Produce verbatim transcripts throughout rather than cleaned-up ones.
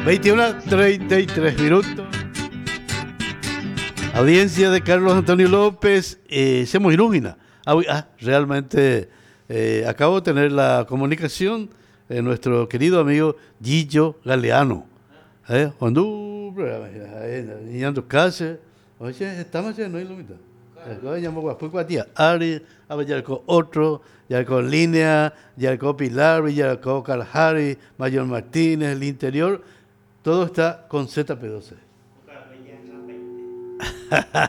Veintiuna treinta y tres minutos. Audiencia de Carlos Antonio López, eh, se muy ilumina. Ah, ah, realmente eh, acabo de tener la comunicación de nuestro querido amigo Gillo Galeano. Eh, cuando casa, oye, estamos en no ilumina. Ari, otro, ya con Línea, ya con Pilar, ya con Kalahari, Mayor Martínez, el interior, todo está con Z P doce.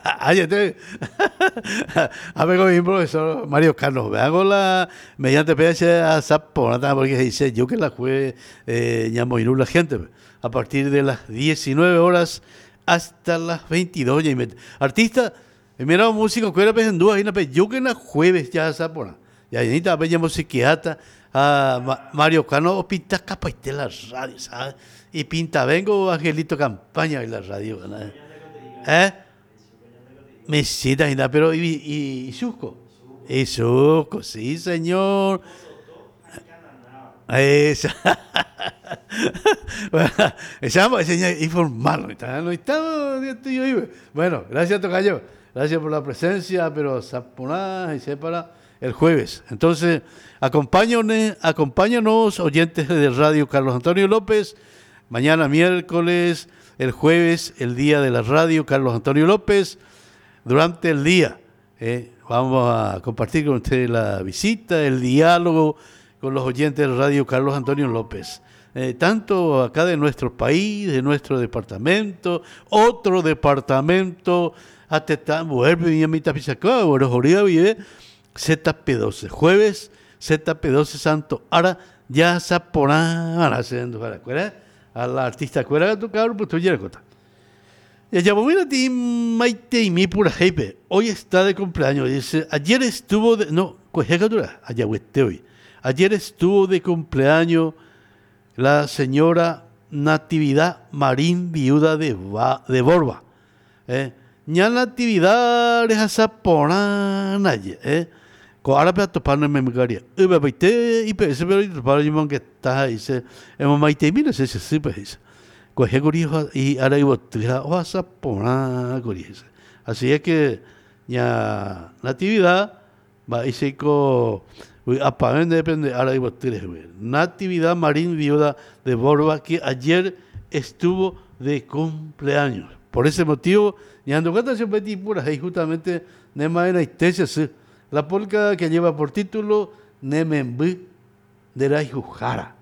A ver, con mi profesor Mario Carlos, me hago la mediante P H a Zapona, porque dice yo que la juegue eh, la gente a partir de las diecinueve horas hasta las veintidós. Artista, mira, músico, que era pensando ahí, yo que la jueves ya Zapona. Y ahí está, bella musiquiata, a Mario Cano, pinta capaite la radio, ¿sabes? Y pinta, vengo Angelito Campaña en la radio, ¿no? ¿Eh? Mesita, pero y, y, y Susco. Y Susco, sí, señor. Esa. Bueno, esa informal, no está, no está, bueno, gracias, tocayo. Gracias por la presencia, pero Zaponá y separa el jueves. Entonces, acompáñanos, acompáñanos, oyentes de Radio Carlos Antonio López. Mañana miércoles, el jueves, el día de la radio Carlos Antonio López. Durante el día, eh, vamos a compartir con ustedes la visita, el diálogo con los oyentes de Radio Carlos Antonio López. Eh, tanto acá de nuestro país, de nuestro departamento, otro departamento, hasta Z P doce, jueves Z P doce Santo Ara, ya Zaporán, haciendo a la artista cuera tu cabrón, pues tú ya cota. Ya mira ti maite y mi pura jepe. Hoy está de cumpleaños, dice, ayer estuvo de no, allá hoy. Ayer estuvo de cumpleaños la señora Natividad Marín, viuda de ba, de Borba. Eh, ña Natividad es azaporán ayer, eh. Ko ahora pe topar no me megaría. Uba baite y pe ese pero topar yo que está ahí se hemos maite mira se se se pues. Ko hegori y ahora iba o azaporán gori. Así es que ña Natividad va y se ko depende ahora iba tres Natividad Marín, viuda de Borba, que ayer estuvo de cumpleaños. Por ese motivo, ñando cata se peti pura y justamente nema era la polca que lleva por título Nemembi de la Jujara.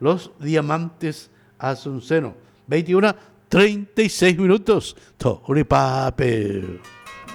Los Diamantes Asunceno. veintiuno treinta y seis minutos. Toripape.